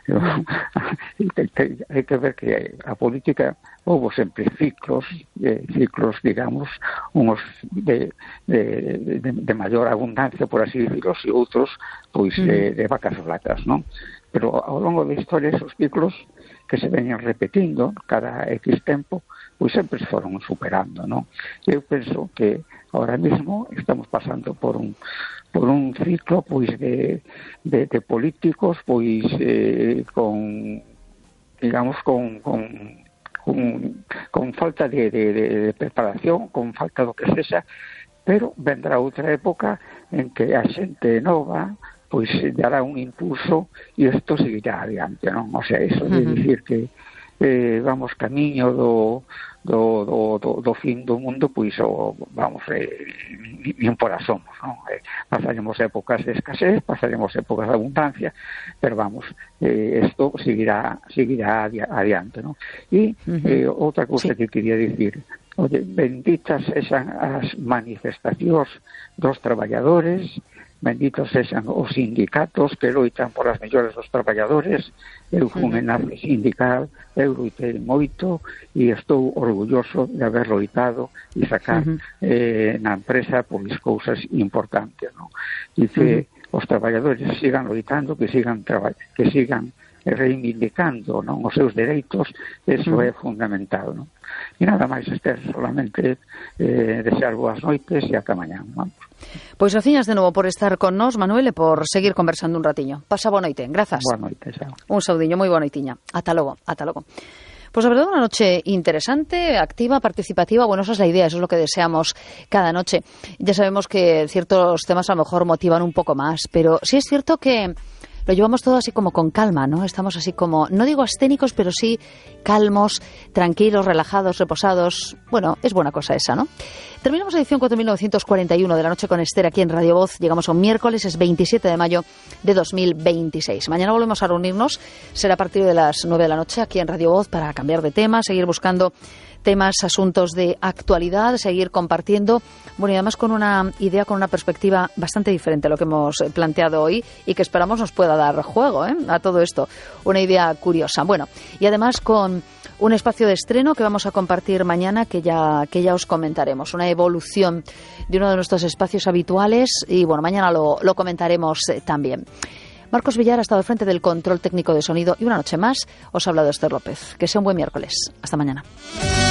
Hai que ver que a política houve sempre ciclos, digamos, unos de maior abundancia, por así decirlo, e outros, pois, de vacas flacas, non? Pero ao longo da historia, esos ciclos que se veñen repetindo cada X tempo, pois sempre se foron superando, non? Eu penso que ahora mismo estamos pasando por un ciclo, pois, de políticos, pois, con, digamos, con falta de preparación, con falta do que sexa, pero vendrá outra época en que a xente nova pois dará un impulso e isto seguirá adiante, non? O sea, eso de dicir que vamos camiño do fin do mundo, pois vamos, nin por asomo, non? Pasaremos épocas de escasez, pasaremos épocas de abundancia, pero vamos, isto seguirá adiante, non? E outra cousa que quería dicir, benditas sexan as manifestacións dos traballadores, benditos sexan os sindicatos que loitan por as mellores dos traballadores. Eu fui un enlace sindical, eu loitei moito e estou orgulloso de haber loitado e sacar na empresa pois cousas importantes, non? E que os traballadores sigan loitando, que sigan reivindicando, non, os seus dereitos, eso é fundamental, non? E nada máis, Esther, solamente desear boas noites e ata mañá, non? Pois graciñas de novo por estar con nós, Manuel, e por seguir conversando un ratiño. Pasa boa noite, grazas. Boa noite, xa. Un saudiño, moi boa noitiña. Ata logo, ata logo. Pues la verdad, una noche interesante, activa, participativa. Bueno, esa es la idea, eso es lo que deseamos cada noche. Ya sabemos que ciertos temas a lo mejor motivan un poco más, pero sí es cierto que lo llevamos todo así como con calma, ¿no? Estamos así como, no digo ascénicos, pero sí calmos, tranquilos, relajados, reposados. Bueno, es buena cosa esa, ¿no? Terminamos la edición 4941 de La Noche con Esther aquí en Radio Voz. Llegamos a un miércoles, es 27 de mayo de 2026. Mañana volvemos a reunirnos, será a partir de las 9 de la noche aquí en Radio Voz para cambiar de tema, seguir buscando temas, asuntos de actualidad, seguir compartiendo, bueno, y además con una idea, con una perspectiva bastante diferente a lo que hemos planteado hoy y que esperamos nos pueda dar juego a todo esto, una idea curiosa. Bueno, y además con un espacio de estreno que vamos a compartir mañana que ya os comentaremos, una evolución de uno de nuestros espacios habituales y bueno, mañana lo comentaremos también. Marcos Villar ha estado al frente del control técnico de sonido y una noche más os ha hablado Esther López. Que sea un buen miércoles. Hasta mañana.